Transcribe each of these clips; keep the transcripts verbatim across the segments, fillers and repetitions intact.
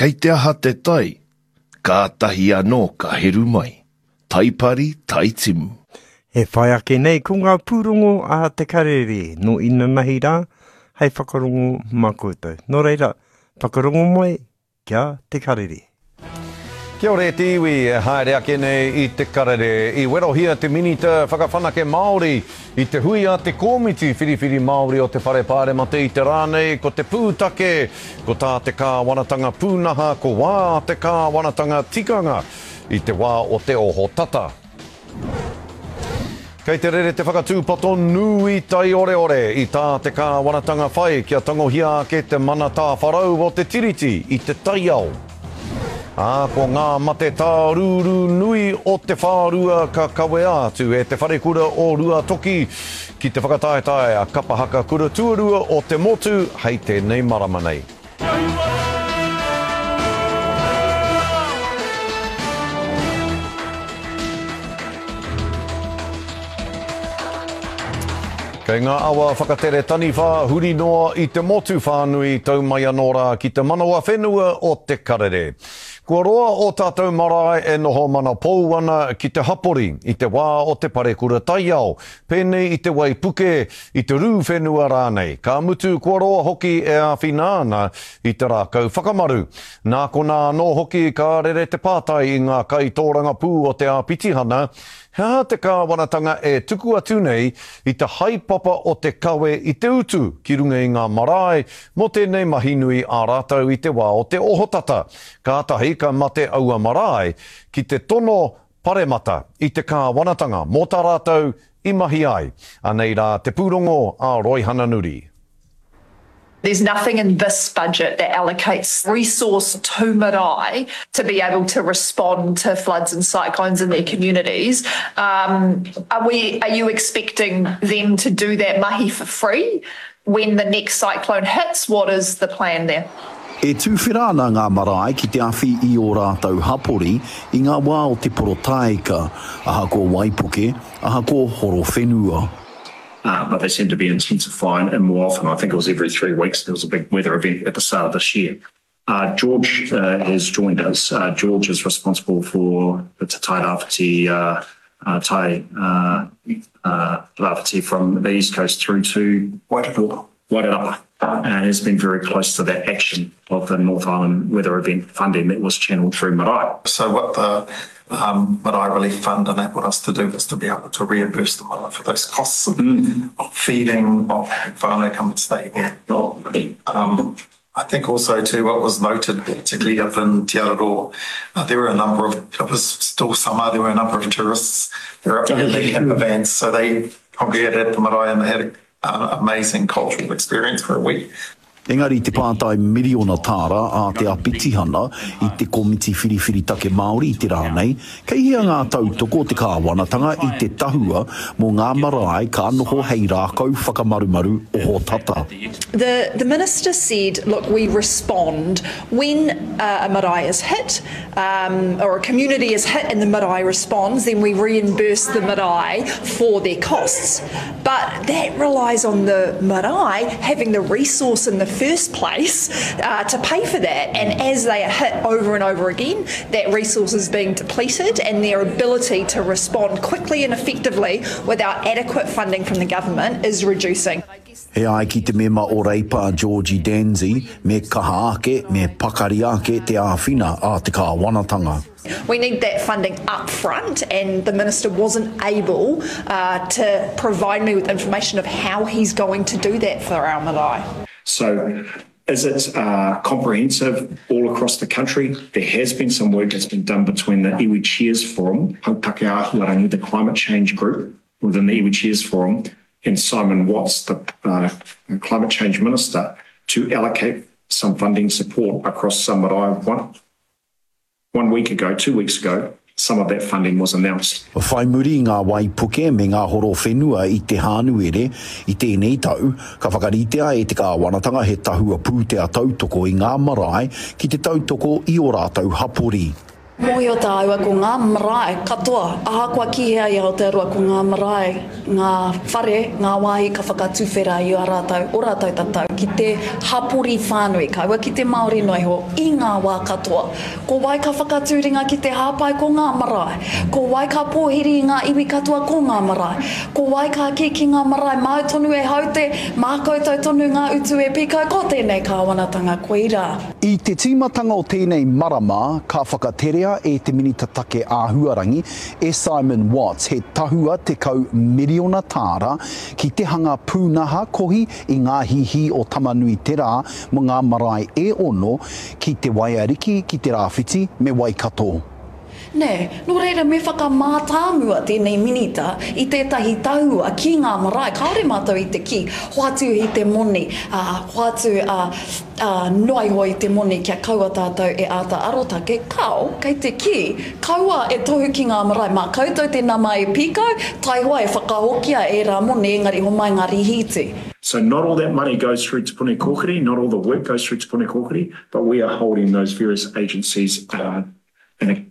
Kei te aha te tai, kātahi anō ka heru mai. Taipari, taitimu. E whai ake nei ko ngā pūrongo a Te Karere nō inanahi rā hei whakarongo mā koutou. Nō reira, whakarongo mai kia Te Karere. Kia ora e te iwi e haere ake nei i Te Karere. I werohia te Minita Whakawhanake Māori i te hui a te Kōmiti Whiriwhiri Māori o te Whare Pāremata i te rā nei, ko te pūtake, ko tā te kāwanatanga pūnaha, ko wā te kāwanatanga tikanga i te wā o te oho tata. Kei te rere te whakatūpato nui taioreore i tā te kāwanatanga whai kia tangohia ake te mana tāwharau o te tiriti i te taiao. Ā, ko ngā mate tārūrū nui o te whārua ka kawea atu e te wharekura o Ruatoki ki te whakataetae a Kapahaka Kura Tuarua o te motu hei tēnei marama nei. Kei ngā awa whakatere taniwha huri noa i te motu whānui tau mai anō rā ki te manawa whenua o Te Karere. Kua roa o tātou marae e noho mana pou ana ki te hapori i te wā o te parekura taiao, pēnei i te waipuke, i te rū whenua rānei. Ka mutu kua roa hoki e āwhina ana i te rākau whakamaru. Nā konā anō hoki ka rere te pātai i ngā kaitōrangapū o te āpitihana, he aha te kāwanatanga e tuku atu nei i te haepapa o te kawe i te utu ki runga i ngā marae mō tēnei mahi nui ā rātou i te wā o te ohotata. Kātahi ka mate aua marae ki te tono paremata i te kāwanatanga mō tā rātou i mahi ai. Anei rā te pūrongo a Roihana Nuri. There's nothing in this budget that allocates resource to marae to be able to respond to floods and cyclones in their communities. Um, are we? Are you expecting them to do that mahi for free when the next cyclone hits? What is the plan there? E tūwhera ana ngā marae ki te awhi i o rātou hapori i ngā wā o te porotaeka, ahakoa waipuke, ahakoa horo whenua. Uh, but they seem to be intensifying and more often. I think it was every three weeks there was a big weather event at the start of this year. Uh, George uh, has joined us. Uh, George is responsible for the Te Tai Rāwhiti, uh, uh, Tai uh, uh, Rāwhiti from the East Coast through to Wairarapa. Wairarapa. And has been very close to that action of the North Island weather event funding that was channeled through marae. So what the um, Marae Relief Fund enabled us to do was to be able to reimburse the marae for those costs of, mm. of feeding, of having whānau come and stay there. Um, I think also too what was noted, particularly up in Te Araroa, uh, there were a number of, it was still summer, there were a number of tourists they were up there in their camper vans, so they congregated at the marae and they had an amazing cultural experience for a week. Engari te pātai miriona tāra a te apitihana i te Komiti Whiriwhiri Take Māori i te rā nei, kei hea ngā tautoko o te kāwanatanga i te tahua mō ngā marae ka noho hei rākau whakamarumaru oho tata. The, the minister said, look, we respond when uh, a marae is hit um, or a community is hit and the marae responds, then we reimburse the marae for their costs. But that relies on the marae having the resource in the first place uh, to pay for that, and as they are hit over and over again, that resource is being depleted and their ability to respond quickly and effectively without adequate funding from the government is reducing. He ai ki te mema o Reipa Georgie Danzi, me kaha ake, me pakari ake te āwhina a te kāwanatanga. We need that funding up front, and the minister wasn't able uh, to provide me with information of how he's going to do that for our marae. So is it uh, comprehensive all across the country? There has been some work that's been done between the Iwi Chairs Forum, Hautake Ahuarangi, the climate change group within the Iwi Chairs Forum, and Simon Watts, the uh, climate change minister, to allocate some funding support across some marae. One, one week ago, two weeks ago, some of that funding was announced. Whai muri ngā waipuke me ngā horo whenua i te Hānuere i tēnei tau, ka whakaritea e te kāwanatanga he tahua pūtea tautoko i ngā marae ki te tautoko i o rātou hapori. Mōhio tāua ko ngā marae katoa, ahakoa ki hea i Aotearoa ko ngā marae, ngā whare, ngā wāhi ka whakatuwhera i a rātou, o rātou tatau ki te hapori whānui, kaua ki te Māori noa iho, i ngā wā katoa. Ko wai ka whakatū ringa ki te hāpai ko ngā marae. Ko wai ka pōhiri i ngā iwi katoa ko ngā marae. Ko wai ka kī ki ngā marae māu tonu e haute, mā koutou tonu ngā utu e pīkau, ko tēnei kāwanatanga koirā. I te tīmatanga o tēnei marama ka whakaterea e te Minita Take Āhuarangi, e Simon Watts, he tahua tekau miriona tāra ki te hanga pūnaha kohi i ngā hihī o Tamanuiterā mō ngā marae e ono ki Te Waiariki, ki Te Rāwhiti me Waikato. Nē, nō reira me whakamātāmua tēnei minita i tētahi tahua ki ngā marae, kāore mātou i te kī, hoatu i te moni, ā, hoatu, ā, ā, noa iho i te moni kia kaua tātou e āta arotake, kāo, kei te kī, kaua e tohu ki ngā marae, mā koutou te nama e pīkau, taihoa e whakahokia ērā moni engari homai ngā rīhīti. So not all that money goes through Te Puni Kōkiri, not all the work goes through Te Puni Kōkiri, but we are holding those various agencies uh,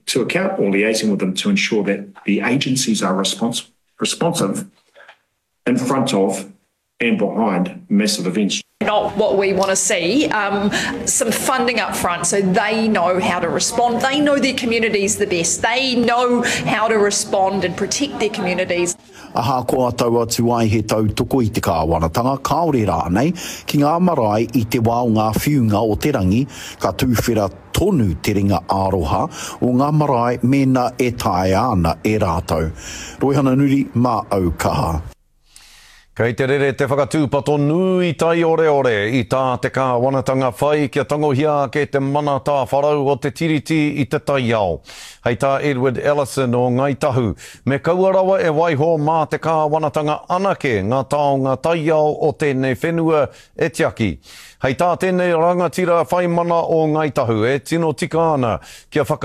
to account or liaising with them to ensure that the agencies are respons responsive in front of and behind massive events. Not what we want to see. Um, some funding up front so they know how to respond. They know their communities the best. They know how to respond and protect their communities. Ahakoa tau atu ai he tautoko i te kāwanatanga, kāore rānei, ki ngā marae i te wā o ngā whiunga o te rangi, ka tūwhera tonu te ringa aroha o ngā marae mēnā e taea ana e rātou. Roihana Nuri, mā au kaha. Kei te rere te whakatūpato nui taioreore i tā te kāwanatanga whai kia tangohia ake te mana tāwharau o te tiriti i te taiao. Hei tā Edward Ellison o Ngāi Tahu, me kaua rawa e waiho mā te kāwanatanga anake ngā taonga taiao o tēnei whenua e tiaki. Hei tā tēnei rangatira whai mana o Ngāi Tahu e tino tika ana kia whaka